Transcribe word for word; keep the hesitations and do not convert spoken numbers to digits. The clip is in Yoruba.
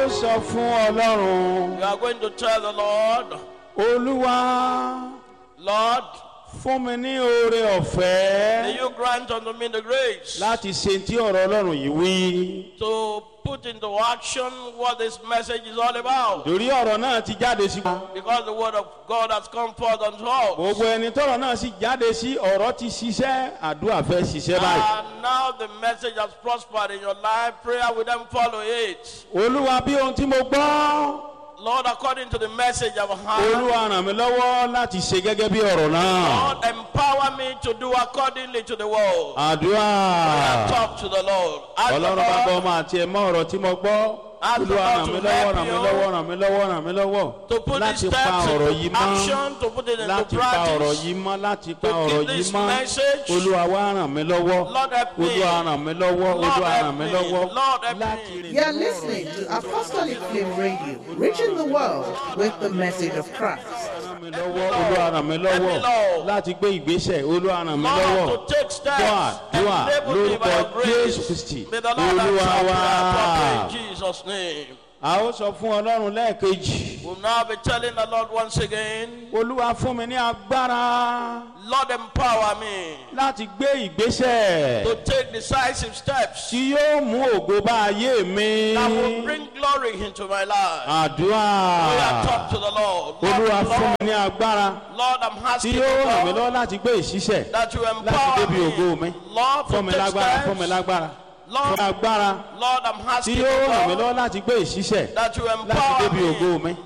Ó sọ fún Ọlọ́run. You are going to tell the Lord, Olúwa, Lord, fún mi ní oore ọ̀fẹ́ may you grant unto me the grace láti ṣe tí ọ̀rọ̀ Ọlọ́run yìí wí. to put into action what this message is all about. Torí ọ̀rọ̀ náà ti jáde sí. Because the word of God has come forth unto us. Gbogbo ẹni tọ́rọ̀ náà sì jáde sí, ọ̀rọ̀ ti ṣiṣẹ́, àdúrà fẹ́ ṣiṣẹ́ báyìí. And now the message has prospered in your life. Prayer will then follow it. Olúwa, bí ohun tí mo gbọ́. Lord, according to the message I've heard, Olúwa, ràn mí lọ́wọ́ láti ṣe gẹ́gẹ́ bí ọ̀rọ̀ náà. Lord, empower me to do accordingly to the word. Àdúrà. Talk to the Lord. Ask the Ọlọ́run bá gbọ́ Lord ọmọ àti ẹ̀mọ́ ọ̀rọ̀ tí mo gbọ́. Ask the Olúwa, Lord ràn to mí lọ́wọ́, help ràn mí you lọ́wọ́, ràn mí lọ́wọ́, ràn mí lọ́wọ́. to put these Láti pa steps ọ̀rọ̀ yìí into mọ́. action, to put it into Láti pa ọ̀rọ̀ practice. yìí mọ́, láti pa To ọ̀rọ̀ keep yìí this mọ́. message. Olúwa, wá ràn mí lọ́wọ́. Lord, help me. Olúwa, ràn mí lọ́wọ́. Lord, Olúwa, help ràn mí me. lọ́wọ́. Lord, help Láti me. rìn You are listening to Apostolic Flame Radio, reaching the world with the message of Christ. Ràn mí lọ́wọ́, Olúwa, ràn mí Help me, lọ́wọ́. Lord. Láti gbé ìgbésẹ̀, Olúwa, ràn mí lọ́wọ́. Lord, to take steps. Dúà, dúà, Enable me by lórúkọ your grace. Jésù Kristi. May the Lord Olúwa answer wa. prayer properly in Jesus' name. A ó sọ fún Ọlọ́run lẹ́ẹ̀kejì. We'll now be telling the Lord once again, Olúwa, fún mi ní agbára Lord, empower me láti gbé ìgbésẹ̀ to take decisive steps tí yóò mú ògo bá ayé mi. that will bring glory into my life. Àdúrà. We are talk to the Lord. Lord, Olúwa, fún Lord, mi ní agbára Lord, I'm tí asking yóò you, ràn mí Lord, lọ́wọ́ láti gbé ìṣiṣẹ́ that you láti empower débi ògo mi. me. Lord, Fún to mi take lágbára, fún mi steps. lágbára. Fún Lord, mi agbára Lord, I'm tí asking yóò you, ràn mí Lord, lọ́wọ́ láti gbé ìṣiṣẹ́ that you láti empower débi ògo me. mi.